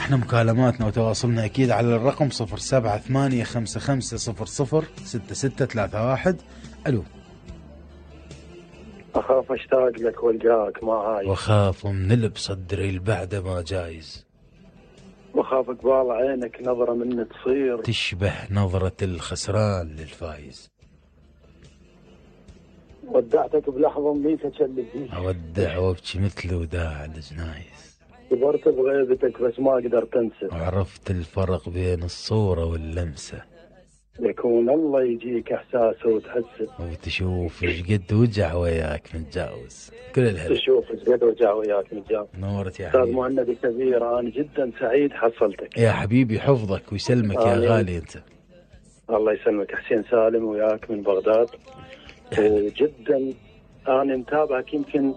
احنا مكالماتنا وتواصلنا اكيد على الرقم 0785500663. الو. اخاف اشتاق لك والقاك ما هاي، واخاف من لب صدري البعد ما جايز، واخاف قبال عينك نظرة من تصير تشبه نظرة الخسران للفايز. ودعتك بلحظة ميتة اللي اودع وابكي مثل وداع الجنايز، كبرت بغيبتك بس ما قدرت انسى، وعرفت الفرق بين الصورة واللمسة، يكون الله يجيك احساسه وتحسه، وتشوف ايش قد وجع وياك متجاوز. كل الهلا. تشوف ايش قد وجع وياك متجاوز. نورت يا استاذ حبيبي. مهند كبير، انا جدا سعيد حصلتك يا حبيبي حفظك ويسلمك يا غالي انت. الله يسلمك. حسين سالم وياك من بغداد، وجدا انا متابعك يمكن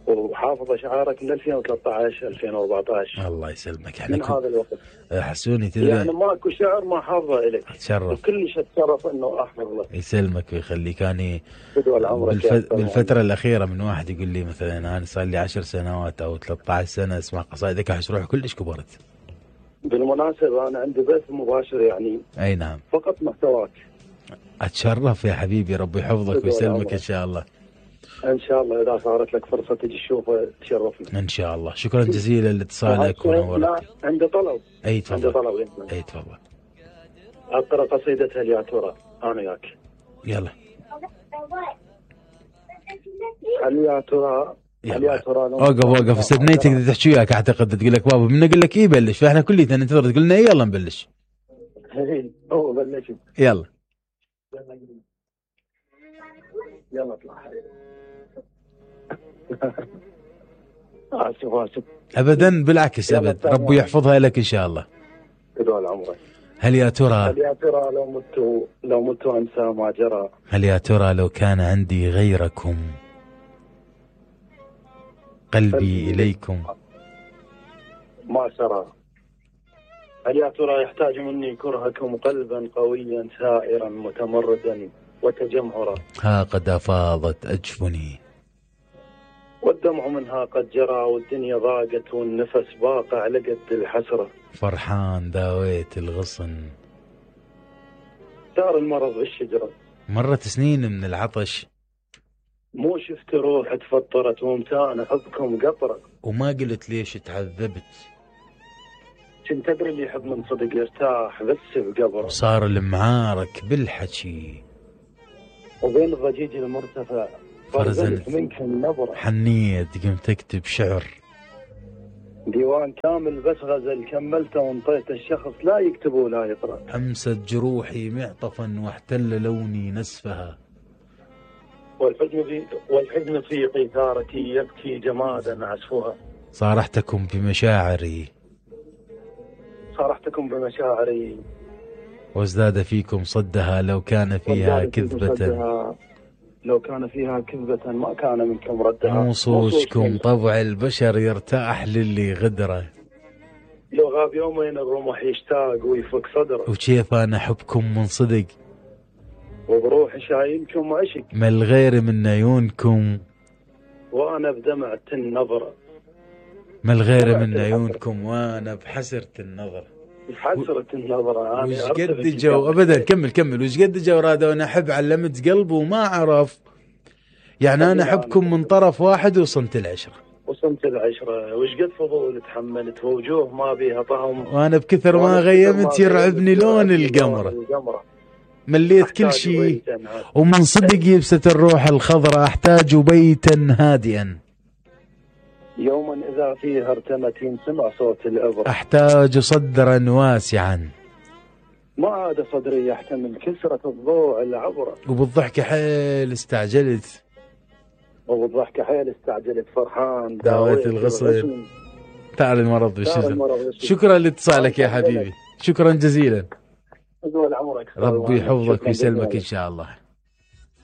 وحافظ اشعارك من 2013 2014. الله يسلمك. من هذا الوقت حسوني تدري يعني ماكو شعر ما حافظه الك. اتشرف. وكلش اتشرف انه احفظ لك. يسلمك ويخليك. اني بالفتره الاخيره من واحد يقول لي مثلا انا صار لي 10 سنوات او 13 سنه اسمع قصائدك، احس روحي كلش كبرت. بالمناسبه انا عندي بث مباشر يعني. اي نعم. فقط محتواك. اتشرف يا حبيبي، ربي يحفظك ويسلمك ان شاء الله. ان شاء الله اذا صارت لك فرصه تجي تشوفه تشرفنا ان شاء الله. شكرا جزيلا لاتصالك ونورك. لا عندي طلب. اي تفضل. عندي طلب. اي تفضل. اقرا قصيده هل يا ترى انا وياك. يلا. هل يا ترى هل يا ترى اوقف استثنيت تقدر تحكي وياك اعتقد. تقول لك بابا من اقول لك ايه بلش، فاحنا كلنا ننتظر تقول لنا ايه يلا نبلش. هو بلش. يلا يلا اطلع. اسف ابدا بالعكس ابد، ربي يحفظها لك ان شاء الله. طول عمرك. هل يا ترى لو مت انسى ما جرى. هل يا ترى لو كان عندي غيركم قلبي اليكم ما سرى. هل يا ترى يحتاج مني كرهكم قلبا قويا سائرا متمردا وتجمهرا. ها قد افاضت اجفني والدمع منها قد جرى، والدنيا ضاقت والنفس باق على قد الحسرة. فرحان داويت الغصن. صار المرض بالشجرة. مرت سنين من العطش، مو شفت روح تفطرت ومتان حبكم قطرة. وما قلت ليش تعذبت. كنت ادري اللي يحب من صدق يرتاح بس بقبره. وصار المعارك بالحكي، وبين الضجيج المرتفع فرزنت منك النبرة. حنيت قمت اكتب شعر ديوان كامل بس غزل كملته وانطيت الشخص لا يكتب ولا يقرأ. امست جروحي معطفا واحتل لوني نسفها. والحزن في قيثارتي يبكي جمادا عزفها. صارحتكم بمشاعري وازداد فيكم صدها. لو كان فيها كذبة ما كان منكم ردها. مو صوجكم طبع البشر يرتاح للي غدره. لو غاب يومين الرمح يشتاق ويفك صدره. وكيف انا احبكم من صدق وبروحي شايلكم عشق. ما الغير من عيونكم وانا بدمعة النظرة. ما الغير من عيونكم وانا بحسرة النظرة. وش قد جو ابدا. كمل. وش قد جو رادة وانا احب علمت قلبه وما عرف. يعني انا احبكم من طرف واحد وصنت العشرة. وش قد فضول تحملت ووجوه ما بيها طهم. وانا بكثر ما غيمت يرعبني لون القمرة. مليت كل شيء ومن صدق يبست الروح الخضراء. احتاج بيتا هادئا يوما إذا فيها ارتمت ينسمع صوت الإبرة. أحتاج صدرا واسعا ما عاد صدري يحتمل كسرة الضوء العبرة. وبالضحك حيل استعجلت فرحان داويت الغصن. تعال المرض بالشجر. شكرا لاتصالك يا حبيبي، شكرا جزيلا. ربي يحفظك ويسلمك إن شاء الله.